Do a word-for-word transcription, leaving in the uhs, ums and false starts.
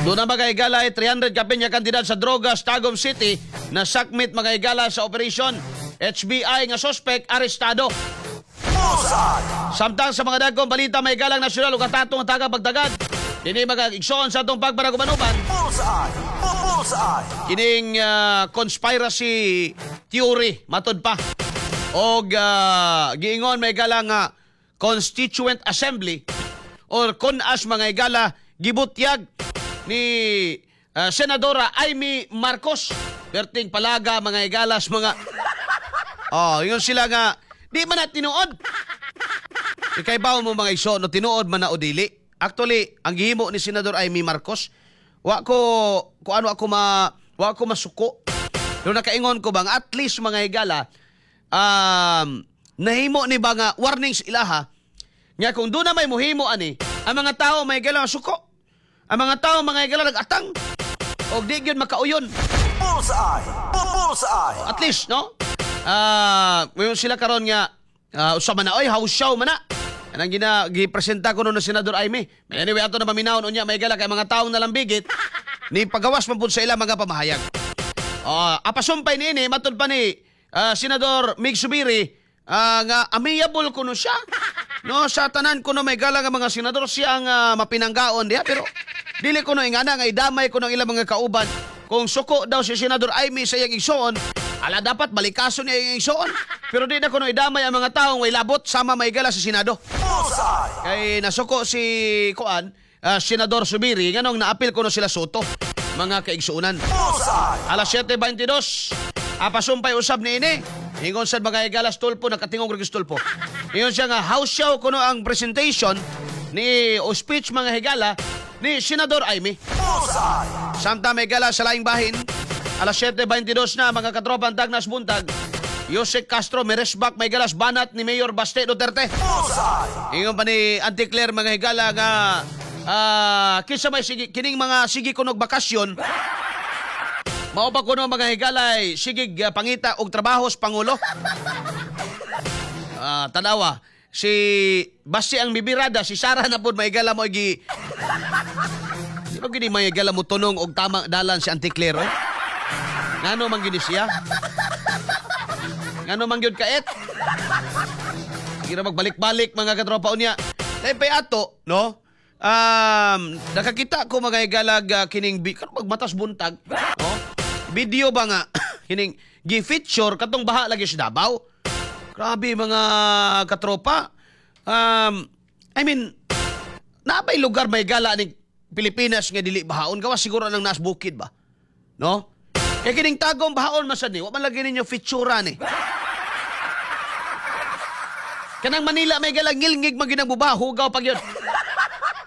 Doon na mga higala ay three hundred kapin nga kantidad sa drogas Tagum City na sakmit, mga higala, sa operation. H B I nga suspect arestado. Bullseye! Samtang sa mga dagkong balita, may galang nasyonal ug atatong taga pagtagad. Dini, mga igsoon, sa atong pagpanagubanuban. Bullseye! Bullseye! Kining ah, conspiracy theory matud pa og ah, giingon, may gala, nga Constituent Assembly or CONAS, mga higala, gibutyag ni ah, Senadora Imee Marcos. Perting palaga, mga higalas, mga oh ingon sila nga di man na tinuod. Ikay mo, mga iso, no, tinuod man na o dili. Actually, ang gihimo ni Senador Imee Marcos, wa ko ko ano ako ma wa ko masuko. Pero nakaingon ko bang at least, mga higala, um, nahimo ni ba nga warnings ilaha nga kung doon na may muhimo ani, ang mga tao, may higala, suko. Ang mga tao, mga higala, nag-atang. Og di gyud makauyon. Bullseye! Bullseye! At least, no? Ah, uh, sila karon nga uh, usa man na oy, house show man na. Anang gina gipresenta ko no ng Senador Imee. Anyway, ato na paminawon unya, may gala, kay mga taong nalambigit ni pagawas man pud sa ilang mga pamahayag. Oh, apasumpay niini, matud pa ni ah, Senador Migz Zubiri ah, nga amiable kuno siya. No, sa tanan kuno, may gala, nga mga senador, siya ang ah, mapinanggaon diha, pero dili kuno ingana nga idamay kuno ang ilang mga kauban. Kung suko daw si Senador Imee sa iyang igsoon, ala, dapat balikason niya iyang igsoon. Pero di na kuno idamay ang mga taong way labot sama, may gala, sa Senado. Bullseye! Kay nasuko si kuan, ah, Senador Zubiri, nganong naapil kuno sila Sotto, mga kaigsuonan. Bullseye! Alas siyete bangtidós. Apasumpay usab ni ini. Ingon sad, mga higalas, Tulfo, nakatingog rin Tulfo. Ingon siya nga house show kuno ang presentation ni o speech, mga higala, ni Senador Imee. Bullseye! Samtang, may gala, sa laing bahin, alas siyete bangtidós na, mga katropa, ang Tagnas buntag. Usec Castro, miresbak, may galas, banat ni Mayor Baste Duterte. Bullseye! Ingon pa ni Auntie Claire, mga higala, nga ah, kinsa may sige, kining mga sige kunog bakasyon. Mao pa kuno, mga higalay, sige ah, pangita og trabaho sa pangulo. Ah, tanawa si basi ang bibirada si Sara na pud, may higala, mo gi Di ba gini, may higala, mo tunong og tamang dalan si Auntie Claire, oy? Ngano man gini siya? Ngano man gyud kaet? Kira magbalik-balik, mga katropa, unya. Dahil pay ato, no? Um, nakakita ko, mga higalag, uh, kining bi karon magmatas buntag, no? Video ba nga kining gi-feature katong baha lagi sa Davao. Grabe, mga katropa. Um, I mean, nabay lugar, may gala, ni Pilipinas nga dili bahaon, gawas siguro nang nas bukid ba? No? Kay kining Tagum, bahaon man sad ni, wa man lagi ninyo feature ni. Kanang Manila, may gala, ngilngig man ginang buba, hugaw pag yun.